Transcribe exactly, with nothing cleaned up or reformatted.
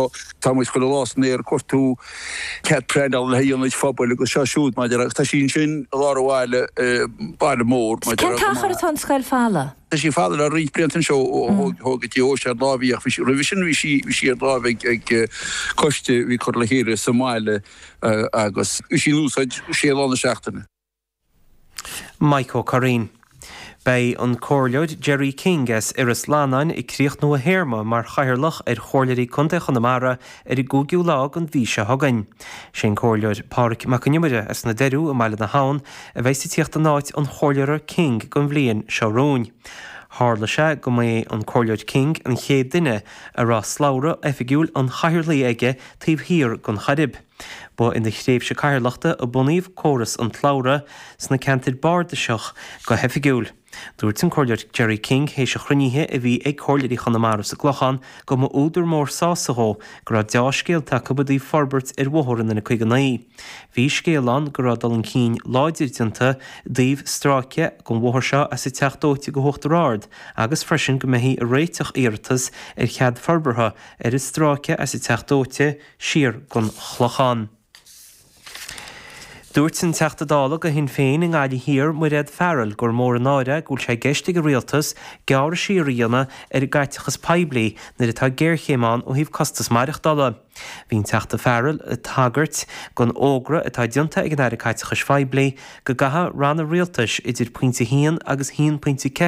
So tá muid chuile lá san aer ag cuartú cead pleanála le haghaidh ionaid phobail agus seo siúd maidir agus tá sí ansin i lár an bhaile, baile mór maidir Cén t-achar atá an scoil folamh? Tá sí folamh le roinnt blianta anseo ó thóg an deoise ar láimh í ach bhí sí roimhe sin bhí sí bhí sí ar láimh ag ag coiste a bhí curtha le chéile sa mbaile agus bhí sí in úsáid sé lá na seachtaine. Mike Ó Curraoin. Beidh an Comhairleoir Gerry King as Iorras Fhlannáin ag críochnú a théarma mar Chathaoirleach ar Chomhairleoirí Contae Chonamara ar an gcúigiú lá den mhí seo chugainn. Sé an Comhairleoir Pádraig Mac Con Iomaire as na Doiriú i mBaile na hAbhann a bheas ag tíocht in áit an Chomhairleora King don bhliain seo romhainn. Tharla sé go mba é an Comhairleoir King an chéad duine a raibh slabhra oifigiúil an chathaoirligh aige taobh thiar den Chairib. Ba ina thréimhse cathaoirleachta a bunaíodh córas an tslabhra sna ceantair bardasach go hoifigiúil. Dúirt an Comhairleoir Gerry King théis an chruinnithe a bhí ag Comhairleoirí Chonamara sa gClochán go mba údar mór sásaimh dhó go raibh deá-scéalta acu i dtaobh forbairt ar bhóthar an N caoga naoi. Bhí scéal ann go raibh dul chun cinn láidir déanta i dtaobh stráice den bhóthar seo as an Teach Dóite go hUachtar Ard agus freisin go mbeifí ag réiteach iarratas ar chead forbartha ar an stráice as an Teach Dóite siar gon Chlochán. Dúirt an Teachta Dála do Shinn Féin i nGaillimh Thiar, Mairéad Farrell, gur mór an náire go bhfuil sé i gceist ag an Rialtas gearradh siar a dhéanamh ar an gcaiteachas poiblí nuair atá géarchéim ann ó thaobh costas maireachtála. Bhí an Teachta Farrell ag tagairt don fhógra atá déanta ag an Aire Caiteachais Phoiblí go gcaithfidh ranna rialtais idir pointe a haon agus a haon pointe ceathair